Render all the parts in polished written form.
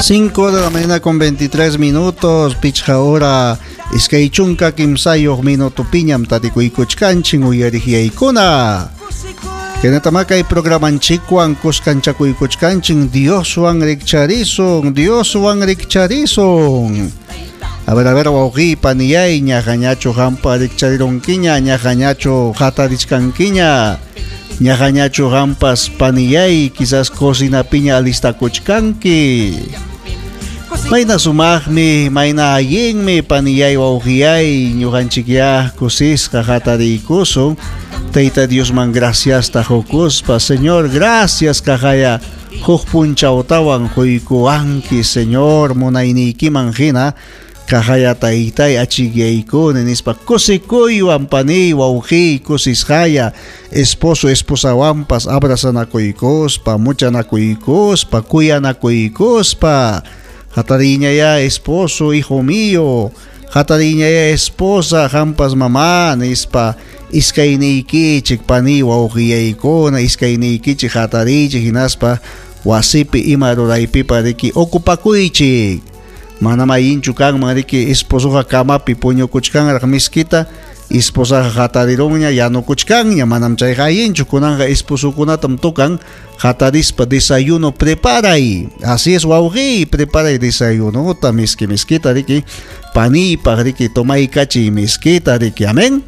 5 de la mañana con 23 minutos, pichqa hora, iskay chunka kimsayuq minuto piñam tarikuykuchkanchin uyariqyaykuna. Kaynatamá kay programanchikwan kuskanchakuykuchkanchin Dioswan rikcharisun, Dioswan rikcharisun. A ver, wawqiy, paniyay, ñaqañachu qampa rikcharirunkiña, ñaqañachu hatarichkankiña, ñaqañachu qampas paniyay, quizás cocinapiña alistakuchkanki. Mayna sumaqmi, mayna allinmi paniyay wawqiyay, ñuqanchikyá kusisqa hatariykusun. Tayta Diosman graciasta qukuspa, Señor, gracias kaqaya huk punchawtawan quykuwanki, Señor, munayniykiman hina kaqaya taytay achikyaykuni nispa kusikuywan paniy wawqiy kusisqaya esposo esposawanpas abrazanakuykuspa, muchanakuykuspa, kuyanakuykuspa. Hatariñayá esposo, hijo mío, hatariñayá esposa, qampas mamá nispa iskayniykichik paniy wawqiyaykuna, iskayniykichik hatariychik hinaspa wasipi ima ruraypipa riki ocupakuychik. Manam allinchu kanman riki esposoqa kamapi puñukuchkanraq miskita, esposaqa hatarirunña yanukuchkanña, manam chayqa allinchu. Kunanqa esposokunatam tocan hatarispa desayuno preparay. Así es, wawqiy, preparay desayunota miski miskita riki, paniypaq riki tomaykachiy miskita riki. Amén.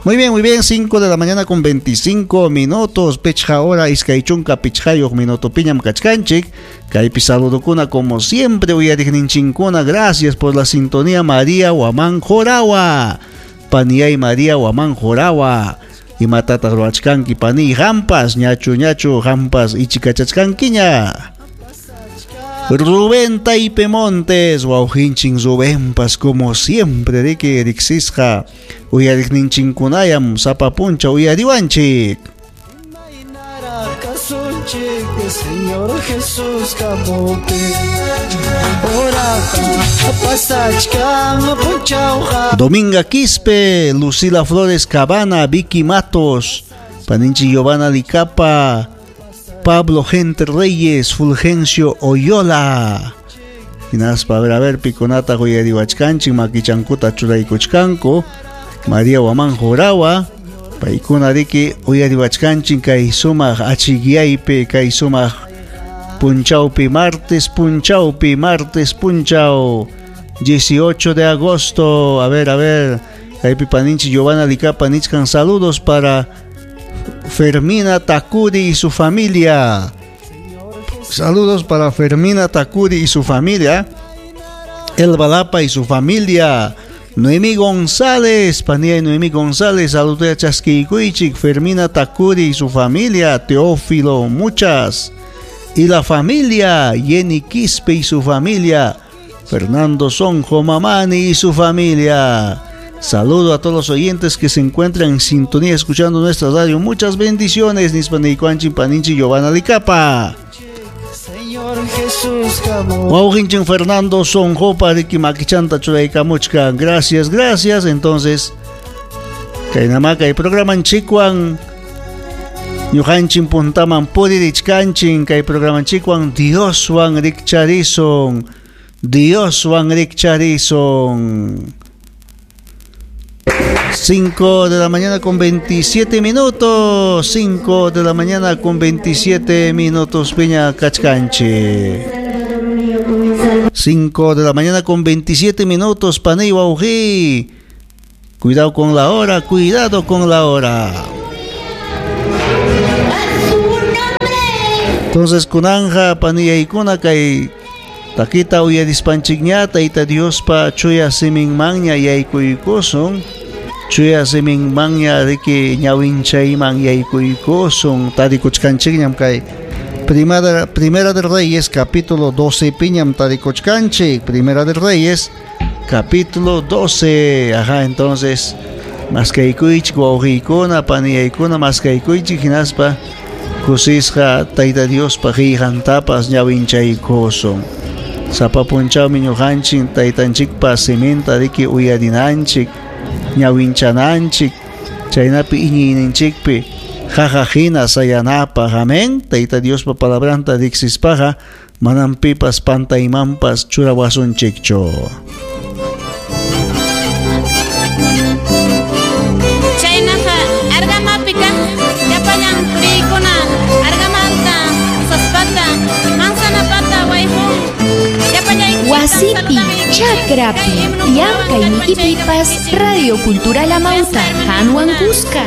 Muy bien, 5 de la mañana con 25 minutos, pichqa hora, iskay chunka pichqayuq minuto piñam kachkanchik. Kaypi saludukuna como siempre uyariqninchinkuna, gracias por la sintonía María Huamán Jorawa. Paniyay María Huamán Jorawa. Imatataq ruwachkanki paniy qampas, ñachu ñachu qampas ichikachachkankiña. Rubén Taipe Montes, wawqinchin Rubénpas como siempre riki riqsisqa uyariqninchinkunayam sapa puncha uyariwanchik. Señor Jesús kamupi oraqa pasachkan punchawqa. Dominga Quispe, Lucila Flores Cabana, Vicky Matos, Paninchi Giovanna Licapa, Pablo Gente Reyes, Fulgencio Oyola. Hinaspa, a ver, pikunata uyariwachkanchik, makichankuta churaykuchkanku. María Huamán Jorawa, paykuna riki uyariwachkanchik kay sumaq achikyaypi, kay sumaq punchawpi, martes punchawpi, martes punchaw, 18 de agosto. A ver, kaypi paninchi Giovanna Licapa nichkan saludos para Fermina Takuri y su familia. Saludos para Fermina Takuri y su familia. El Balapa y su familia. Noemí González, panía y Noemí González, saludos a Chasquiycuichik, Fermina Takuri y su familia, Teófilo, muchas. Y la familia, Jenny Quispe y su familia, Fernando Sonjo Mamani y su familia. Saludo a todos los oyentes que se encuentran en sintonía escuchando nuestra radio. Muchas bendiciones, Nispanikuanchin Paninchi Giovanna Licapa. Señor Jesús Wawqinchin Fernando Sonjo pariki makichanta churaykamuchkan. Gracias, gracias. Entonces, kaynama kay programanchikwan ñuqanchin puntaman puririchkanchin kay programanchikwan Dioswan rikcharisun, Dioswan rikcharisun. 5 de la mañana con 27 minutos. 5 de la mañana con 27 minutos, Peña Cachcanche. 5 de la mañana con 27 minutos, Paney Waují. Cuidado con la hora, cuidado con la hora. Entonces, kunanja, paniyaykuna kay takita uyarispanchikña, Tayta Diospa chuya siminmanña yaykuykusun. Chuya siminmanña riki ñawinchayman yaykuykusun. Tarikuchkanchikñam kay Primera de Reyes, capítulo 12, piñam tarikuchkanchik. Primera de Reyes, capítulo 12. Ajá, entonces, maskaykuychik wawqiykuna, paniyaykuna, maskaykuychik hinaspa kusisqa Tayta Diospa qillqantapas ñawinchaykusun. Sapa punchawmi ñuqanchik taytanchikpa siminta riki uyarinanchik, ñawinchananchik, chaynapi iñiyninchikpi qaqa hina sayanapaq. Amén. Tayta Diospa palabranta riqsispaqa Manam pipas pantaymanpas churawasunchikchu. Chaynaqa Argamapi kaq llapallan puriykuna Argamanta usaspata manzanapata wayqun llapallaykichiktam Wasipi, saludamuykichik. chakrapi, Kay himnokunawan llamkayniykipipas kallpanchaykamuwaykichik. Radio Cultural Amauta, Kuyasqa Hanwan hermanokuna. Kuska.